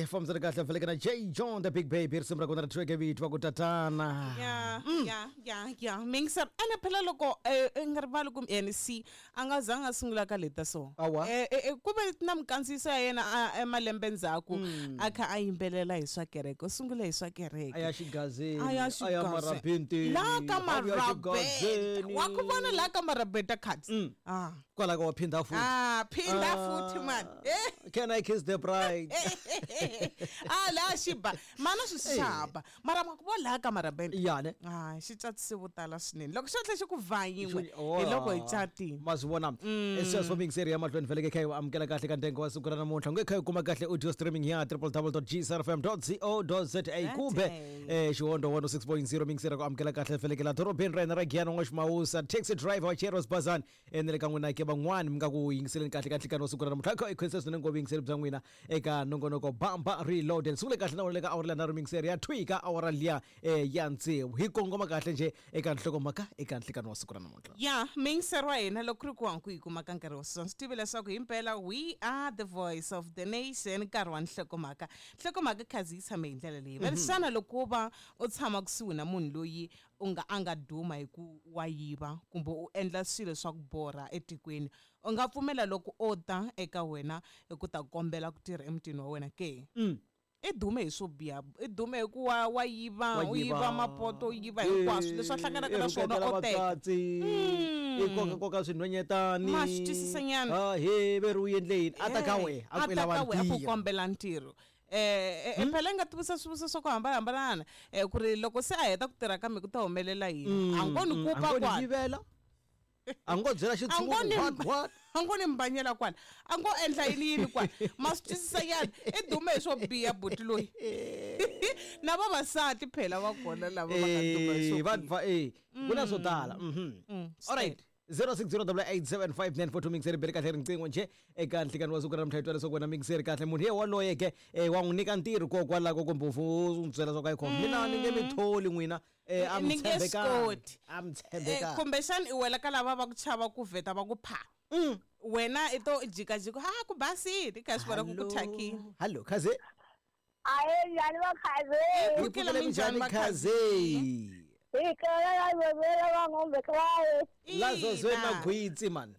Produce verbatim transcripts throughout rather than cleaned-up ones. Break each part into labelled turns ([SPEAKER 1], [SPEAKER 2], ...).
[SPEAKER 1] Fambisana kahle feleke na J John the Big Baby risimu ra kona ri thyiweke vito va ku tatana.
[SPEAKER 2] Ya, ya, ya, ya. Mingisa ene phela loko eh, i nga rivali ku N C a nga zanga a sungula ka leta so.
[SPEAKER 1] Awa.
[SPEAKER 2] Eh, eh, eh, ku ve na mikandziyiso ya yena a- emalembe ndzhaku a kha a yimbelela hi swa kereke. U sungule hi swa kereke.
[SPEAKER 1] A ya xigazeni,
[SPEAKER 2] A ya
[SPEAKER 1] a ya
[SPEAKER 2] xigazeni.
[SPEAKER 1] marabenteni,
[SPEAKER 2] La ka
[SPEAKER 1] a vuya
[SPEAKER 2] marabenta.
[SPEAKER 1] xigazeni.
[SPEAKER 2] Wa ku vona la ka marabenta cards. Ah.
[SPEAKER 1] Kwala ka wa phinda futhi.
[SPEAKER 2] Ah, phinda futhi man. Eh.
[SPEAKER 1] Can I kiss the bride?
[SPEAKER 2] Ah, la xiba. Mana swi xaba. Mara ma ku vo la ka marabenta.
[SPEAKER 1] Ya ne.
[SPEAKER 2] Ah, xi tsatise vo tala swinene. Loko xo tlhe xi ku vhanyiwe,
[SPEAKER 1] Oh,
[SPEAKER 2] hi loko hi catile.
[SPEAKER 1] Ma swi vona. Sweswo mixer ya mahlweni feleke kha yi amukela kahle ka ntengo wa siku ra namuntlha. Nge kha yi kuma kahle audio streaming ya w w w dot g s r f m dot co dot z a kumbe eh Xihondo one oh six point zero mixer ku amukela kahle feleke la dorobeni ra hina ra Giyani n'wa Ximawusa taxi driver wa Cheros Bazan ene le ka n'wina ke van'wani mi nga ku yingiseleni kahle ka nhlikani wa siku ra namuntlha. Kha i khensisa swinene ngopfu yingiseli bya n'wina eka nongonoko Bamba Reloaded. Sungule kahle na wona le ka awara liya nharhu mixer ya thwi ka awara liya eh ya tsevu. Hi kongoma kahle nje eka nhlokomhaka eka nhlikani wa siku ra namuntlha.
[SPEAKER 2] Ya, mixer wa hina loko ku ri ku ku yi kuma ka nkarhi wa sweswi. Swi tive leswaku himpela we are the voice of the nation nkarhi wa nhlokomhaka. Nhlokomhaka khazi yi tshame hi ndlela leyi. Va ri xana loko wo va u tshama kusuhi na munhu loyi u nga a nga duma hi ku wa yiva kumbe u endla swilo swa ku borha etikweni, u nga pfumela loko o ta eka wena hi ku ta kombela ku tirha emutini wa wena ke? I dume hi swo biha, i dume hi ku wa, wa yiva,
[SPEAKER 1] Wa
[SPEAKER 2] u yiva
[SPEAKER 1] yiva.
[SPEAKER 2] mapoto, u yiva hinkwaswo leswi a hlanganaka na swona
[SPEAKER 1] I
[SPEAKER 2] o teka.
[SPEAKER 1] vatswatsi, i koka koka swinhwanyetani.
[SPEAKER 2] Ma swi twisisa nyana.
[SPEAKER 1] Ah, he ve ri u endle yini? A ta ka wena, a
[SPEAKER 2] A
[SPEAKER 1] ku i
[SPEAKER 2] ta
[SPEAKER 1] lava
[SPEAKER 2] ka wena, a ku
[SPEAKER 1] ntirho.
[SPEAKER 2] kombela ntirho. Eh, eh, phela i nga tivisa swivutiso swa ku hambanahambana, eh, ku ri loko se a heta ku tirha kambe ku ta humelela yini? A ngo ni
[SPEAKER 1] Mm,
[SPEAKER 2] kupa
[SPEAKER 1] a ngo ni
[SPEAKER 2] kwala.
[SPEAKER 1] yivela. A ngo byela
[SPEAKER 2] A
[SPEAKER 1] xitshungu
[SPEAKER 2] ngo ni
[SPEAKER 1] what, what?
[SPEAKER 2] A ngo ni mbanyela kwala. A ngo endla yini yini kwala. Ma swi twisisa nyana. I dume hi swo biha buti loyi. Na vavasati phela va kona lava va nga duma hi swo
[SPEAKER 1] Eh, va
[SPEAKER 2] biha.
[SPEAKER 1] va eh ku na swo tala. Mhm.
[SPEAKER 2] Mm,
[SPEAKER 1] All right. zero six zero double eight seven five nine four two mixer bele kahle riqingho nje eka nhlikani wa siku ra namuntlha hi twa leswaku wena mixer kahle munhu ye waloye ke eh wa n'wi nyika ntirho kokwalaho kumbe u n'wi byela swa ku ayikhona mina ni nge mi tholi n'wina eh a mi
[SPEAKER 2] Ni nge swi
[SPEAKER 1] tshembekanga
[SPEAKER 2] koti.
[SPEAKER 1] a mi
[SPEAKER 2] Eh,
[SPEAKER 1] tshembekanga
[SPEAKER 2] kumbexana i wela ka lava va ku chava ku vheta va ku pha. Wena i to jikajika ha ku basile i kha swi vona ku ku thyakile.
[SPEAKER 1] Hallo khaze.
[SPEAKER 3] Ahe njhani va khaze?
[SPEAKER 1] Hi pfukile minjhani khaze?
[SPEAKER 3] Hi kela la zozela va ngombe kwaye.
[SPEAKER 1] La zozweni
[SPEAKER 2] Ina.
[SPEAKER 1] magwitsi man.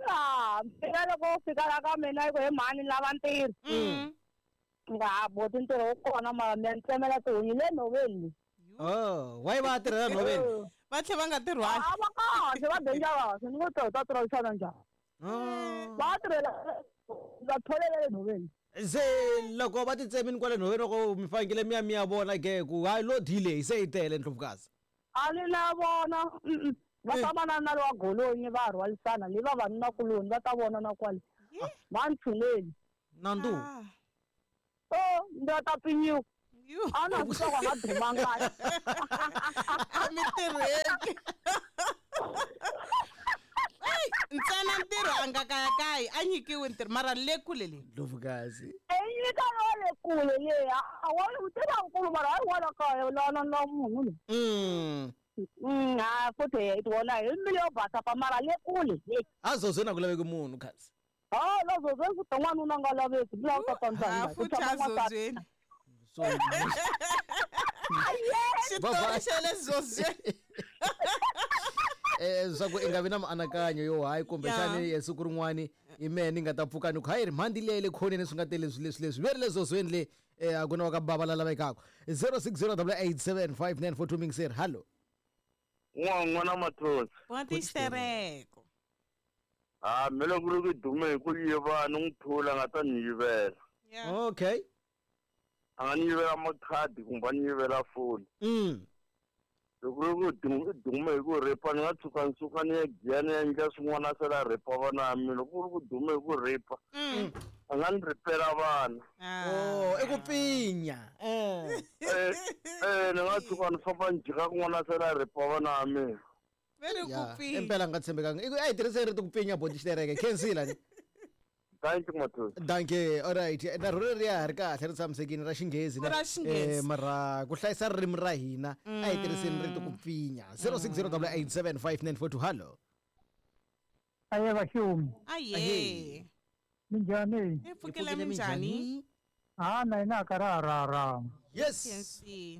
[SPEAKER 3] Ah, mina loko u fika la ka mina yi ku he mhani ni lava ntirho.
[SPEAKER 2] Mm.
[SPEAKER 3] Nga ha boti ntirho wu kona mara mi ya ni tsemela tihunyi le nhoveni.
[SPEAKER 1] Oh, why va tirhela nhoveni?
[SPEAKER 2] Va tlhe va nga tirhwali.
[SPEAKER 3] A va kahle va dangerous ni ngo to ta tirhisana njhani.
[SPEAKER 1] Oh.
[SPEAKER 3] Va tirhela va tholela le nhoveni.
[SPEAKER 1] Se loko va ti tsemini kwale nhoveni loko mi fanekele mi ya mi ya vona ke ku hayi lo delay se yi tele Ndlovukazi.
[SPEAKER 3] A ni na vona. Mm-mm. Va famba na na lowa golonyi va rhwalisana le vavanunakuloni va ta vona na kwale. Va ntshuneli.
[SPEAKER 1] Nandu.
[SPEAKER 2] Ah.
[SPEAKER 3] Oh, ndzi ta pinyiwa.
[SPEAKER 2] Yu.
[SPEAKER 3] A na swi tiva ku a nga dumanga.
[SPEAKER 2] A mi tirheki. Ey, ntsena ntirho a nga kayakayi a nyikiwi ntirho mara le kule le.
[SPEAKER 1] Ndlovukazi.
[SPEAKER 3] Enyika wa le kule le a wa u tiva nkulu mara hayi wala kaya lana na munhu lo.
[SPEAKER 1] Mm.
[SPEAKER 3] Mm, ha futhi hi wona hi mbilu yo basa pa mara le kule le.
[SPEAKER 1] A zozweni a ku laveki munhu khazi.
[SPEAKER 3] Ha la zozweni ku ta n'wanuna nga laveki bila u ta
[SPEAKER 2] Ha
[SPEAKER 3] tsandzana.
[SPEAKER 2] futhi a zozweni.
[SPEAKER 1] So
[SPEAKER 2] Xitori xa le zozweni.
[SPEAKER 1] eh swa ku i nga vi na mianakanyo yo hayi kumbexani
[SPEAKER 2] Ya.
[SPEAKER 1] siku rin'wani hi mehe ni nga ta pfuka ni ku hayi ri mhandi leyi le khoneni swi nga tele leswi leswi leswi ve ri le zozweni le eh a ku na wa ka bava la lavekaka zero six zero double eight seven five nine four two mixer hallo.
[SPEAKER 4] N'wana n'wana Mathosi.
[SPEAKER 2] Boti xitereko.
[SPEAKER 4] Ah, me loko ri ku dume hi ku yiva ni n'wi thula a nga ta ni yivela.
[SPEAKER 2] Yeah.
[SPEAKER 1] Okay.
[SPEAKER 4] A nga ni yivela makhadi kumbe a ni yivela foni.
[SPEAKER 1] Mm.
[SPEAKER 4] Loko ri ku dume dume hi ku repa ni nga tshuka ni suka ni ya giya ni ya endla swin'wana a sala a repa vana va mina. Loko ku ri ku dume hi ku repa
[SPEAKER 2] Mm.
[SPEAKER 4] a nga ni repela vana.
[SPEAKER 2] Ah.
[SPEAKER 1] Oh, i ku pfinya. Eh.
[SPEAKER 4] Eh, eh ni nga tshuka ni famba ni jika kun'wana a sala a repa vana va mina.
[SPEAKER 2] Ve ri ku
[SPEAKER 1] Ya,
[SPEAKER 2] pfinya.
[SPEAKER 1] impela nga tshembekanga. I ku a hi tirhiseni rito ku pfinya boti xitereke. Khensila ni.
[SPEAKER 4] Thank you Mathosi.
[SPEAKER 1] Dankie. All right. Na rona ri ya ha ri kahle ri tshamisekile ra xinghezi
[SPEAKER 2] Ra xinghezi.
[SPEAKER 1] Eh mara ku hlayisa ririmi ra hina a hi tirhiseni rito ku pfinya. zero six zero double eight seven five nine four two hallo.
[SPEAKER 5] Aye vaxumi.
[SPEAKER 2] Aye.
[SPEAKER 5] Minjhani?
[SPEAKER 2] Hi pfukile minjhani?
[SPEAKER 5] Ha na ina ka ra ra ra.
[SPEAKER 1] Yes.
[SPEAKER 5] Eh.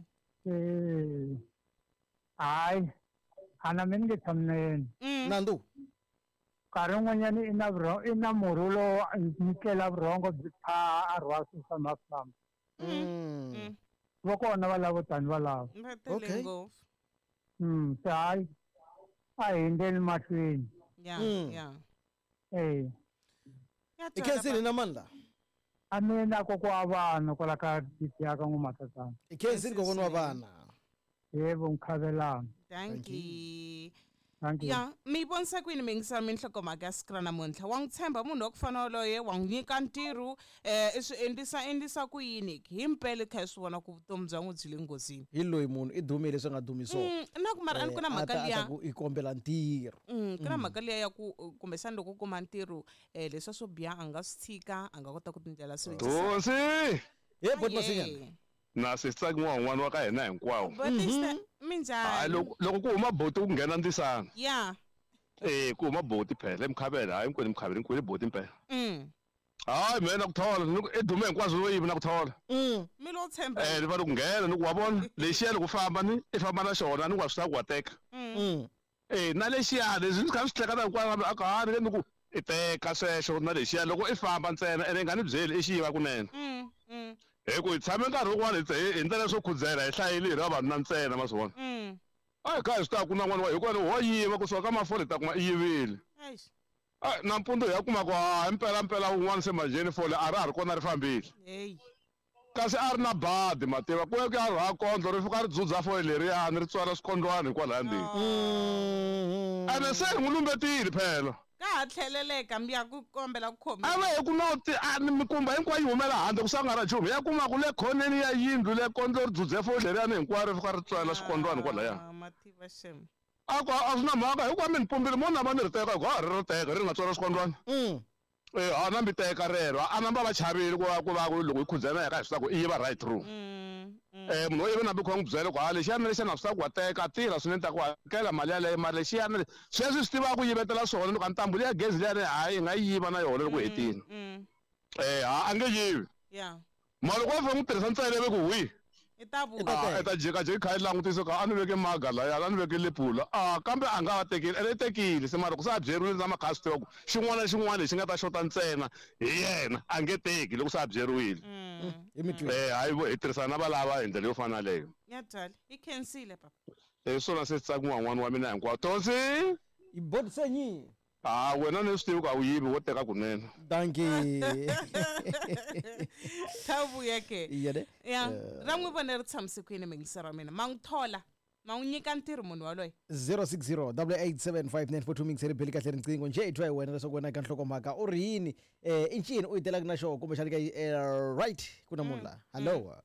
[SPEAKER 5] Ai. Ana mina nge tshami na yena.
[SPEAKER 1] Nandu.
[SPEAKER 5] Nkarhi wun'wanyana i na vurhongo i na murhi lowu nyikela vurhongo byi phaha a rhwala swi famba famba. Va kona va lavo tani va lava.
[SPEAKER 1] Okay.
[SPEAKER 5] Mm, se hayi a hi endleni mahlweni.
[SPEAKER 2] Yeah, yeah.
[SPEAKER 5] Eh.
[SPEAKER 1] I khensile na mani la?
[SPEAKER 5] A mina kokwa wa vana kwala ka ya ka n'wamathatana.
[SPEAKER 1] I khensile kokwana wa vana.
[SPEAKER 5] Yebo Mkhabelana.
[SPEAKER 2] Thank you.
[SPEAKER 5] Thank you.
[SPEAKER 2] Ya, mi vonisa kwini mi yingisela minhlokomhaka ya siku ra namuntlha? Wa n'wi tshemba munhu wa ku fana waloye, wa n'wi nyika ntirho, eh i swi endlisa endlisa ku yini? Hi mpela i kha i swi vona ku vutomi bya n'wi byi le nghozini.
[SPEAKER 1] Hi loyi munhu i dumile swi nga dumi so.
[SPEAKER 2] Mm, na ku mara a ni ku na mhaka liya.
[SPEAKER 1] Ku i kombela ntirho.
[SPEAKER 2] Mm, ku na mhaka liya ya ku kumbexana loko u kuma ntirho eh leswiya swo biha a nga swi tshika, a nga kota ku tindlela swilo.
[SPEAKER 6] Hosi.
[SPEAKER 1] Ye boti Masinyana.
[SPEAKER 6] Na sisi n'wana wa ka hina hinkwawo.
[SPEAKER 2] Minjhani?
[SPEAKER 6] Hayi loko loko ku huma boti ku nghena ndzisana.
[SPEAKER 2] Yeah.
[SPEAKER 6] Eh ku huma boti phela emkhabela hayi hinkwenu emkhabela hinkwenu boti impela.
[SPEAKER 2] Mm.
[SPEAKER 6] Hayi mina ku thola i dume hinkwaswo wo yivi na ku thola.
[SPEAKER 1] Mm.
[SPEAKER 2] Mi lo tshemba.
[SPEAKER 6] Eh va ku nghena ni ku wa vona lexiya loko famba ni i famba na xona ni wa swi ta ku wa teka.
[SPEAKER 2] Mm.
[SPEAKER 6] Eh na lexiya leswi ni kha swi hleketa hinkwaswo a ka ha ni ni ku i teka sweswo na lexiya loko i famba ntsena ene i nga ni byeli i xi yiva kunene.
[SPEAKER 2] Mm. Mm.
[SPEAKER 6] Hi ku hi tshame nkarhi wun'wana hi ndlela swo khudzela hi hlayile hi ri vavanuna ntsena ma swi vona. A hi kha hi swi tiva ku na n'wana wa hikuva ho yiva kusuka ka mafole hi ta kuma i yivile. A nampundzu hi ya kuma ku ha mpela mpela wun'wana se manjheni fole a ra ha ri kona ri fambile. Kasi a ri na badi ma tiva ku ya ku ya rhwala kondlo ri fika ri dzudza fole leriyani ri tswala swikondlwana hikwalaya ndzeni. Ene se hi n'wi lumbetile phela.
[SPEAKER 2] Ka ha tlheleleka mi ya ku kombela ku khomiwa.
[SPEAKER 6] A va hi ku no ti a ni mikumba hinkwayo yi humela handle ku sa nga ra nchumu ya kuma ku le khoneni ya yindlu le kondlo ri dzudze fole leriyani hinkwaro ri fika ri tswala swikondlwana kwalaya.
[SPEAKER 2] Mativa shem.
[SPEAKER 6] A ku a swi na mhaka hikuva mi ni pumbile mo namba ni ri teka hikuva ha ri ri teka ri nga tswala swikondlwana. Eh a nambi teka rero a namba va chavile ku va ku va ku loko hi khudzela ya ka hi swi ku i yiva right through. Eh munhu wo yiva nambi kha n'wi byela ku ha lexiyana lexiyana swi ta ku wa teka tirha swinene ta ku hakela mali yaleyo mali lexiyana sweswi swi tivaka ku yivetela swona loko a ntambu liya gezi liyani hayi hi nga yi yiva na yona loko hetile. Eh ha a nge yivi.
[SPEAKER 2] Yeah.
[SPEAKER 6] Mali loko va n'wi tirhisa ntsena ve ku hwi.
[SPEAKER 2] I ta vuya.
[SPEAKER 6] I ta jika jika kha yi langutisa ka a ni veke maga laya a ni veke lepula a kambe a nga va tekile ene i tekile se mara ku se a byeriwile na makha swi tiva ku xin'wana na xin'wana lexi nga ta xota ntsena hi yena a nge teki loko se a byeriwile. Eh hayi vo hi tirhisana na valava hi ndlela yo fana leyo.
[SPEAKER 2] Ya twala i khensile papa.
[SPEAKER 6] Eh swona se tsaka n'wana wa mina hinkwawo Tonsi.
[SPEAKER 1] I botsenyi.
[SPEAKER 6] Ah wena ni swi tivi ku a wu yivi wo teka kunene.
[SPEAKER 1] Dankie.
[SPEAKER 2] Ta vuya ke.
[SPEAKER 1] Yene.
[SPEAKER 2] Ya, ra n'wi vona ri tshamise kwini mingisero wa mina. Ma n'wi thola, ma n'wi nyika ntirho munhu waloye.
[SPEAKER 1] zero six zero double eight seven five nine four two mingiseri beli kahle riqingho nje i twa hi wena leswaku wena ka nhlokomhaka u ri yini eh i ncini u yi telaka na xona kumbexana ka right ku na munhu la. Hello.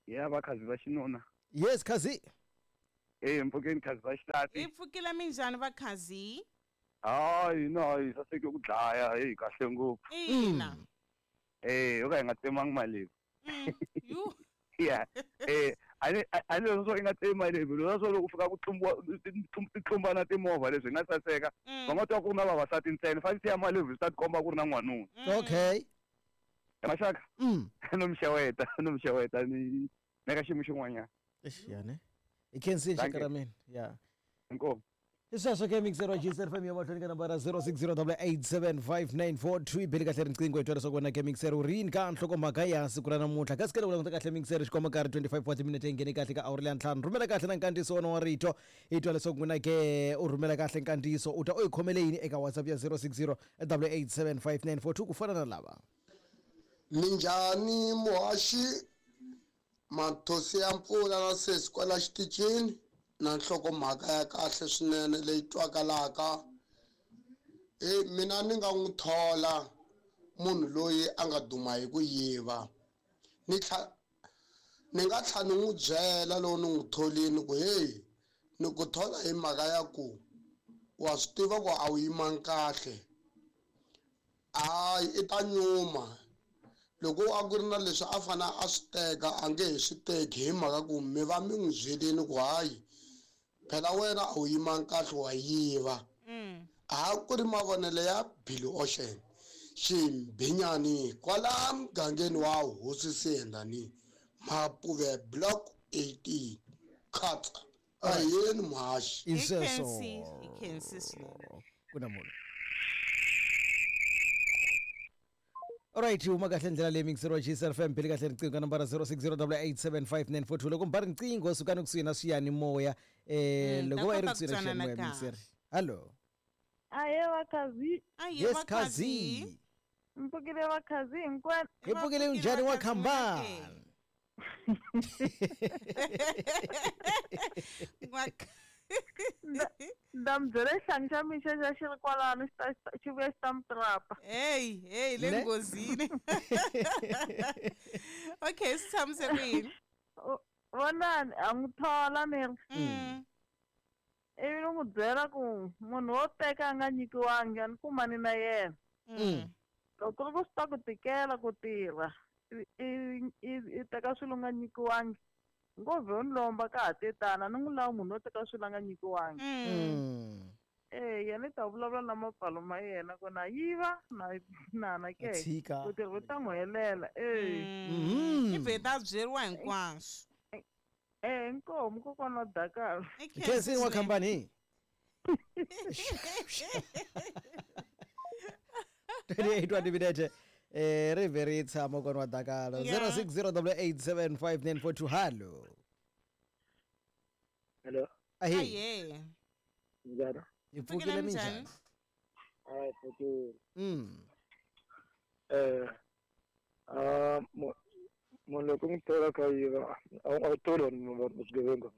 [SPEAKER 7] Ya va khazi va xinuna.
[SPEAKER 1] Yes khazi.
[SPEAKER 7] Eh mpfukeni khazi va xilati.
[SPEAKER 2] Hi pfukile minjhani va khazi?
[SPEAKER 7] Hayi no hayi saseke ku dlaya hey kahle ngopfu.
[SPEAKER 2] Ina.
[SPEAKER 7] Eh yo ka hi nga tsemangi mali.
[SPEAKER 2] Yu.
[SPEAKER 7] Yeah. Eh ani ani leswo i nga tsemi mali leswo loko u fika ku tlumbiwa titlumbana timovha leswi nga saseka. Va nga twa ku na vavasati ntsena fanele ya mali swi ta tikomba ku ri na n'wanuna.
[SPEAKER 1] Okay.
[SPEAKER 7] Maxaka.
[SPEAKER 1] Mm.
[SPEAKER 7] No mxeweta, no mxeweta ni neka xiyimo xin'wanyana.
[SPEAKER 1] Eish yane. I khensile xaka ra mina. Yeah.
[SPEAKER 7] Inkomu.
[SPEAKER 1] Isasho ke mixer wa G S F M ya mahlweni ka nambara zero six zero double eight seven five nine four two beli kahle riqingho hi twa leswaku wena ke mixer u ri yini ka nhlokomhaka ya siku ra namuntlha kasi ke loko languta kahle mixer xikomba karhi twenty-five wa timinete yi nghene kahle ka awuri leya ntlhanu rhumela kahle na nkandziyiso wona wa rito hi twa leswaku n'wina ke u rhumela kahle nkandziyiso u ta u yi khomele yini eka WhatsApp ya zero six zero double eight seven five nine four two ku fana na lava.
[SPEAKER 8] Minjhani muhaxi mathosi ya mpfula na sesi kwala xitichini na nhlokomhaka ya kahle swinene leyi twakalaka. E mina ni nga n'wi thola munhu loyi a nga duma hi ku yiva ni tlha ni nga tlha ni n'wi byela loko ni n'wi tholini ku hey ni ku thola hi mhaka ya ku wa swi tiva ku a wu yimangi kahle hayi i ta nyuma loko a ku ri na leswi a fanele a swi teka a nge he swi teki hi mhaka ku mi va mi n'wi byelini ku hayi phela wena a wu yimangi kahle wa yiva. A ku ri mavonelo ya Billy Ocean. Ximbinyani kwala mugangeni wa Hosi Sendani Mapuve block eighteen Khatsa ayeni muhaxi
[SPEAKER 2] I khensi i khensi swinene
[SPEAKER 1] ku na munhu. Alright, uma kahle ndlela leyi mixero G S F M pheli kahle riqingho ka nambara zero six zero eight eight seven five nine four two loko mbari riqingho sukani kusuhi na swiyani moya eh
[SPEAKER 2] Mm,
[SPEAKER 1] loko
[SPEAKER 2] ta
[SPEAKER 1] va ri
[SPEAKER 2] kota
[SPEAKER 1] kusuhi
[SPEAKER 2] ku
[SPEAKER 1] na
[SPEAKER 2] twanana
[SPEAKER 1] swiyani moya
[SPEAKER 2] kahle.
[SPEAKER 1] mixero. Hello.
[SPEAKER 9] Aye vakhazi
[SPEAKER 2] Aye
[SPEAKER 1] Yes
[SPEAKER 2] vakhazi.
[SPEAKER 1] Khazi.
[SPEAKER 9] mpfukile vakhazi hinkwenu
[SPEAKER 1] Hi pfukile njhani wa khambani?
[SPEAKER 9] Nda mi byela xihlangi xa mina xexa xi ri kwalano xi ta xi vuya xi ta mi trapa.
[SPEAKER 2] Hey, hey, le
[SPEAKER 1] Ne?
[SPEAKER 2] nghozini. Okay, swi tshamise ku yini?
[SPEAKER 9] Vonani a n'wi thola ni ri
[SPEAKER 2] Mm.
[SPEAKER 9] ivi ni n'wi byela ku munhu wo teka a nga nyikiwangi a ni kumani na yena.
[SPEAKER 2] Mm.
[SPEAKER 9] Loko ku ri ku swi ta ku tikela ku tirha i i i teka swilo u nga nyikiwangi ngo vhe u ni lomba ka ha tetana ni n'wi lava munhu wo teka swilo a nga nyikiwangi.
[SPEAKER 2] Mm.
[SPEAKER 9] Eh yena i ta vulavula na mapfalo ma yena ku na yiva na na na ke
[SPEAKER 1] Tshika.
[SPEAKER 9] ku tirha ku ta n'wi helela eh
[SPEAKER 2] Mm. I vheta byeriwa hinkwaswo.
[SPEAKER 9] eh inkomu kokwana wa Dakar.
[SPEAKER 2] I
[SPEAKER 1] Khensi wa khambani. twenty-eight wa timinete eh ri vhe ri tshama kona wa Dakalo
[SPEAKER 2] Yeah.
[SPEAKER 1] zero six zero eight seven five nine four two hello.
[SPEAKER 10] Hello,
[SPEAKER 1] Ahe.
[SPEAKER 2] Aye.
[SPEAKER 10] njhani?
[SPEAKER 1] Hi pfukile minjhani?
[SPEAKER 10] Hayi, pfukile.
[SPEAKER 1] Mm.
[SPEAKER 10] Eh, ah, mu- munhu loko u n'wi thola kha yiva, a wu a wu tholi vanhu va va swigevenga.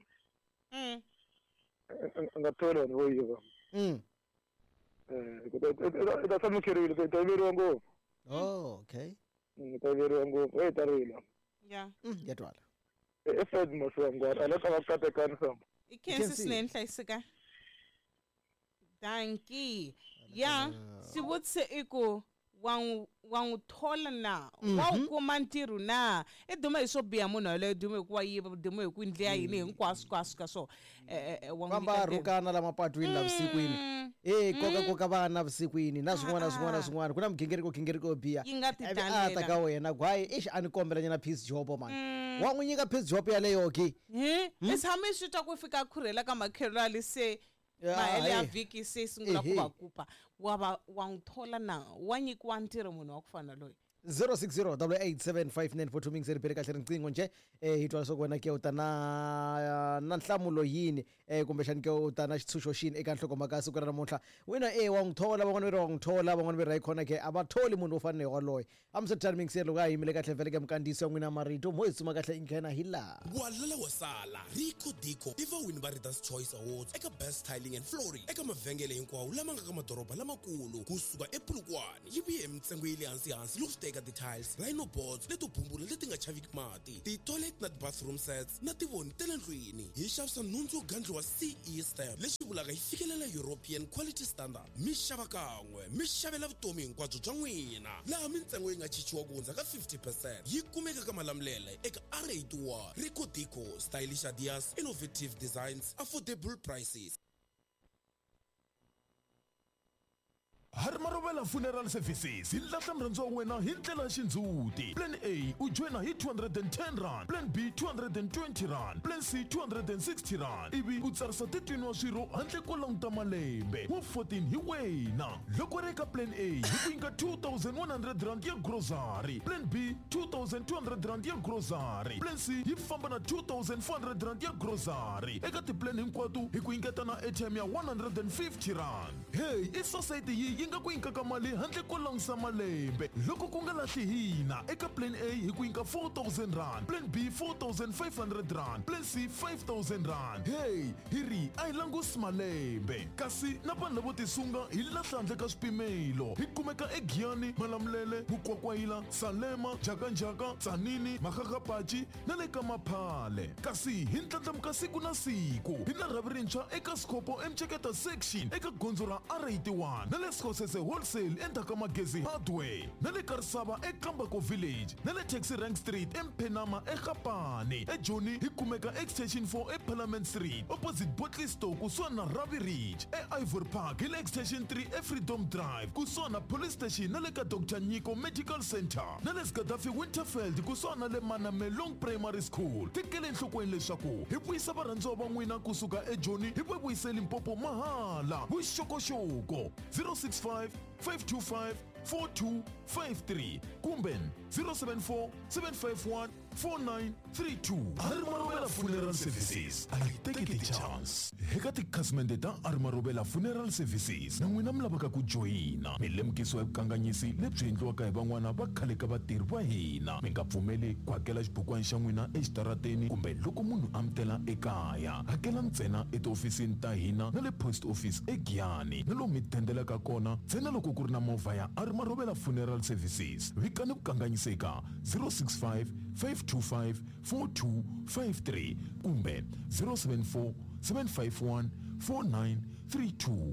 [SPEAKER 2] Mm.
[SPEAKER 10] A nga tholi vanhu vo yiva.
[SPEAKER 1] Mm.
[SPEAKER 10] Eh, hikuva i ta- i ta tshama u kherile, i ta yiveriwa ngopfu.
[SPEAKER 1] Oh, okay.
[SPEAKER 10] Mm, i ta yiveriwa ngopfu, e ta rila.
[SPEAKER 2] Yeah.
[SPEAKER 1] Mm, ya twala.
[SPEAKER 10] I Fred Masiwangwana, a le ka va katekani famba.
[SPEAKER 2] I khensi swinene hlayiseka. Dankie. Ya, xivutiso i ku wa n'wi wa n'wi thola na wa wu kuma ntirho na i dume hi swo biha munhu yaloye dume hi ku wa yiva dume hi ku ndlela yini hinkwaswo kwaswo ka swona Eh, eh, wa n'wi
[SPEAKER 1] Famba
[SPEAKER 2] nyika ntirho.
[SPEAKER 1] rhukana la mapatwini la vusikwini. Eh koka koka vana vusikwini na swin'wana na swin'wana na swin'wana ku na migingiriko gingiriko yo biha.
[SPEAKER 2] Yi nga ti
[SPEAKER 1] Ivi a ta
[SPEAKER 2] talela.
[SPEAKER 1] ka wena ku hayi ixi a ni kombela nyana piece job man. Wa n'wi nyika piece job yaleyo ke.
[SPEAKER 2] Hi i tshame i swi twa ku fika a khurhela ka makhelwani se
[SPEAKER 1] Ya,
[SPEAKER 2] mahele ya
[SPEAKER 1] hayi.
[SPEAKER 2] vhiki se sungula ku
[SPEAKER 1] Ehe.
[SPEAKER 2] va kupa wa va wa n'wi thola na wa nyikiwa ntirho munhu wa ku fana loyi
[SPEAKER 1] zero six zero eight seven five nine four two mingizeri bele kahle riqingho nje eh hi twa leswaku wena ke u ta na na nhlamulo yini eh kumbexani ke u ta na xitshunxo xini eka nhlokomhaka ya siku ra namuntlha wena e wa n'wi thola van'wana va ri wa n'wi thola van'wana va ri hayikhona ke a va tholi munhu wo fana na yoloye hambiswiritano mingiseri loko a yimile kahle vhele ke minkandziyiso ya n'wina marito mo hi tsuma kahle i nghena hi laha
[SPEAKER 11] Walala wasala Rico Dico i vawini va Readers Choice Awards eka Best Tiling and Flooring eka mavhengele hinkwawo lama nga ka madoroba lamakulu kusuka ePolokwane yi vuye hi mintsengo ya le hansi-hansi loko swi ta eka ti-tiles, rhino boards leto bumbula leti nga chaviki mati, ti-toilet na ti-bathroom sets na tivoni ta le ndlwini. Hi xavisa nhundzu yo gandliwa C E stamp lexi vulaka yi fikelela European Quality Standard. Mi xava kan'we mi xavela vutomi hinkwabyo bya n'wina laha mintsengo yi nga chichiwa ku hundza ka fifty percent. Yi kumeka ka Malamulele eka R eighty-one. Rico Dico, stylish ideas, innovative designs, affordable prices.
[SPEAKER 12] Hari Marovela Funeral Services hi lahla murhandziwa wa wena hi ndlela ya xindzhuti. Plan A u joyina hi two hundred and ten rand, Plan B two hundred and twenty rand, Plan C two hundred and sixty rand. Ivi u tsarisa thirteen wa swirho handle ko languta malembe wa fourteen hi wena. Loko ri eka Plan A hi ku nyika two thousand one hundred rand ya grocery, Plan B two thousand two hundred rand ya grocery, Plan C yi famba na two thousand four hundred rand ya grocery. Eka tiplan hinkwato hi ku nyiketa na airtime ya one hundred and fifty rand. Hey, i society yi yi nga ku nyikaka mali handle ko langusa malembe. Loko ku nga lahli hina eka Plan A hi ku nyika four thousand rand, Plan B four thousand five hundred rand, Plan C five thousand rand. Hey, hi ri a hi langusi malembe. Kasi na vanhu lavo tisunga hi lahla handle ka swipimelo. Hi kumeka eGiyani, Malamulele, Mukwakwayila, Salema, Njhakanjhaka, Tzaneen, Makgakgapachi na le ka Maphale. Kasi hi ndlandlamuka siku na siku. Hi na rhavi rintshwa eka Skhopho eMceketa section eka gondzo ra R eighty-one na le Skhosana eGosese Wholesale endzhaku ka Magezi Hardware, na le ka Risava eKambako Village, na le Taxi Rank Street eMphenama eGapane. EJoni hi kumeka Extension four eParliament Street opposite Botley Store kusuhani na Ravi Ridge. E-Ivory Park hi le Extension three eFreedom Drive kusuhani na Police Station na le ka Doctor Nyiko Medical Center, na le Gaddafi Winterfeld kusuhani na le Manamelong Primary School. Tekele enhlokweni leswaku hi vuyisa varhandziwa va n'wina kusuka eJoni hi va vuyise Limpopo mahala. Vuxokoxoko zero six five, five two five, four two five three kumbe zero seven four, seven five one, four nine three two. Arimarobela Funeral Services a yi teki ti-chance. Eka tikhasimende ta Arimarobela Funeral Services na n'wina mi lavaka ku joyina, mi lemukisiwa hi vukanganyisi lebyi endliwaka hi van'wana va khale ka vatirhi va hina. Mi nga pfumeli ku hakela xibukwana xa n'wina exitarateni kumbe loko munhu a mi tela ekaya. Hakela ntsena etihofisini ta hina na le post office eGiyani, na lomu mi dendelaka kona ntsena loko ku ri na movha ya Arimarobela Funeral Services. Vikani vukanganyisi eka zero six five, five two five, four two five three kumbe zero seven four, seven five one, four nine three two.